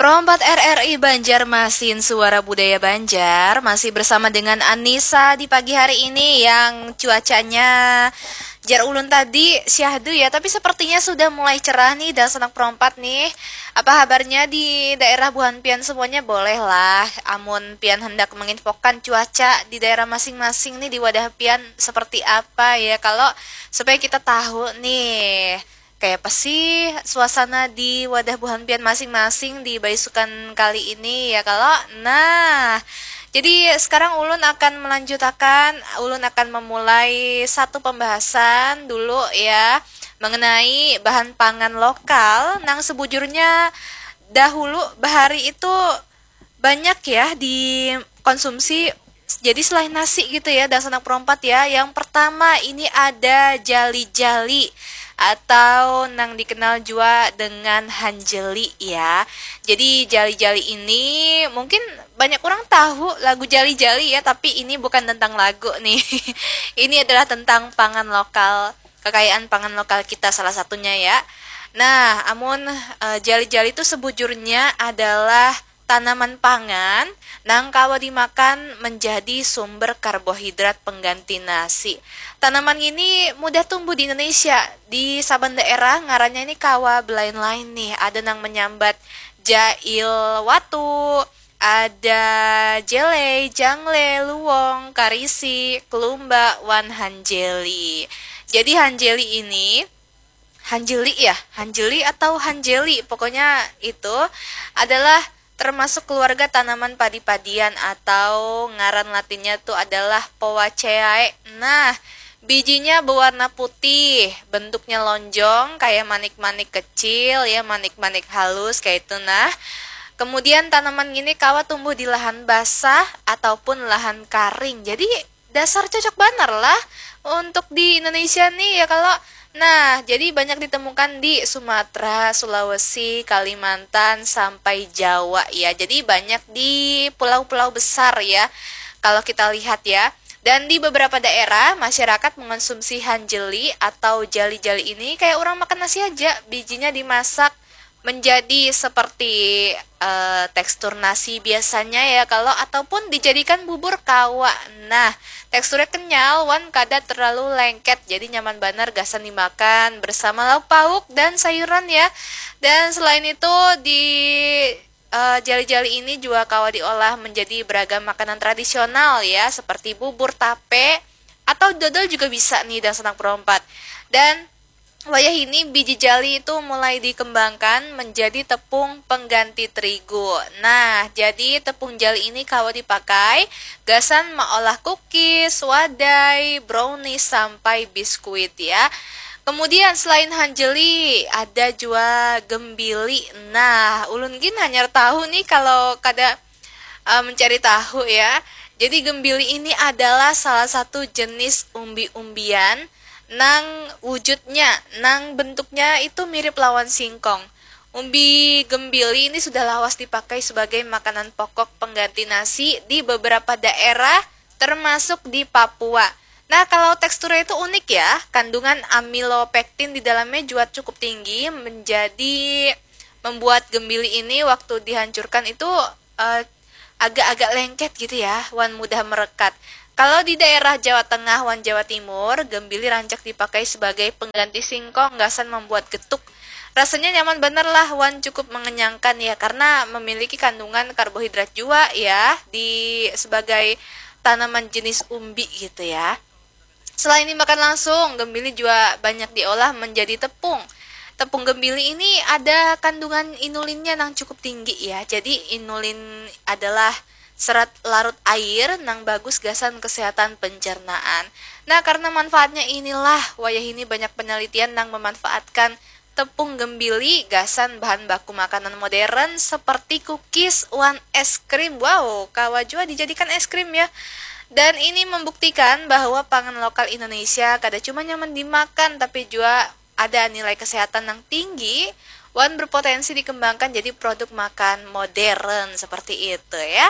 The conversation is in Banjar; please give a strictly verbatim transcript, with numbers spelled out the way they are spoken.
Rompat R R I Banjarmasin, Suara Budaya Banjar, masih bersama dengan Anissa di pagi hari ini yang cuacanya jar ulun tadi syahdu ya, tapi sepertinya sudah mulai cerah nih dan senang perompat nih. Apa habarnya di daerah buhan pian semuanya? Bolehlah, amun pian hendak menginfokan cuaca di daerah masing-masing nih di wadah pian seperti apa ya, kalau supaya kita tahu nih kayak apa sih suasana di wadah buhan pian masing-masing di baisukan kali ini ya kalau. Nah, jadi sekarang ulun akan melanjutakan, ulun akan memulai satu pembahasan dulu ya, mengenai bahan pangan lokal nang sebujurnya dahulu bahari itu banyak ya dikonsumsi. Jadi selain nasi gitu ya, dan senang perompat ya. Yang pertama ini ada jali-jali atau nang dikenal juga dengan hanjeli ya. Jadi jali-jali ini mungkin banyak orang tahu lagu jali-jali ya, tapi ini bukan tentang lagu nih. Ini adalah tentang pangan lokal, kekayaan pangan lokal kita salah satunya ya. Nah, amun uh, jali-jali itu sebujurnya adalah tanaman pangan nang kawa dimakan menjadi sumber karbohidrat pengganti nasi. Tanaman ini mudah tumbuh di Indonesia. Di saban daerah ngarannya ini kawa belain-lain nih. Ada nang menyambat jail watu, ada jelei, jangle, luwong, karisi, kelumba, wan hanjeli. Jadi hanjeli ini hanjeli ya, hanjeli atau hanjeli, pokoknya itu adalah termasuk keluarga tanaman padi-padian atau ngaran latinnya tuh adalah Poaceae. Nah, bijinya berwarna putih, bentuknya lonjong kayak manik-manik kecil ya, manik-manik halus kayak itu nah. Kemudian tanaman ini kawa tumbuh di lahan basah ataupun lahan karing. Jadi dasar cocok banar lah untuk di Indonesia nih ya kalau. Nah, jadi banyak ditemukan di Sumatera, Sulawesi, Kalimantan, sampai Jawa ya. Jadi banyak di pulau-pulau besar ya kalau kita lihat ya. Dan di beberapa daerah, masyarakat mengonsumsi hanjeli atau jali-jali ini kayak orang makan nasi aja. Bijinya dimasak menjadi seperti uh, tekstur nasi biasanya ya kalau, ataupun dijadikan bubur kawa. Nah, teksturnya kenyal wan kada terlalu lengket, jadi nyaman banar gasan dimakan bersama lauk pauk dan sayuran ya. Dan selain itu di uh, jali-jali ini juga kawa diolah menjadi beragam makanan tradisional ya, seperti bubur, tape, atau dodol juga bisa nih dan senang perompat. Dan wayah ini biji jali itu mulai dikembangkan menjadi tepung pengganti terigu. Nah, jadi tepung jali ini kawa dipakai gasan maolah cookies, wadai, brownies, sampai biskuit ya. Kemudian selain hanjeli, ada juga gembili. Nah, ulun gin hanyar tahu nih kalau kada uh, mencari tahu ya. Jadi gembili ini adalah salah satu jenis umbi-umbian nang wujudnya, nang bentuknya itu mirip lawan singkong. Umbi gembili ini sudah lawas dipakai sebagai makanan pokok pengganti nasi di beberapa daerah, termasuk di Papua. Nah, kalau teksturnya itu unik ya, kandungan amilopektin di dalamnya juga cukup tinggi, menjadi membuat gembili ini waktu dihancurkan itu uh, agak-agak lengket gitu ya, wan mudah merekat. Kalau di daerah Jawa Tengah wan Jawa Timur, gembili rancak dipakai sebagai pengganti singkong gasan membuat getuk. Rasanya nyaman bener lah wan cukup mengenyangkan ya, karena memiliki kandungan karbohidrat juga ya di sebagai tanaman jenis umbi gitu ya. Selain dimakan langsung, gembili juga banyak diolah menjadi tepung. Tepung gembili ini ada kandungan inulinnya yang cukup tinggi ya. Jadi inulin adalah serat larut air nang bagus gasan kesehatan pencernaan. Nah, karena manfaatnya inilah, wayah ini banyak penelitian yang memanfaatkan tepung gembili gasan bahan baku makanan modern seperti cookies wan es krim. Wow, kawa jua dijadikan es krim ya. Dan ini membuktikan bahwa pangan lokal Indonesia kada cuma nyaman dimakan tapi juga ada nilai kesehatan yang tinggi wan berpotensi dikembangkan jadi produk makan modern seperti itu ya.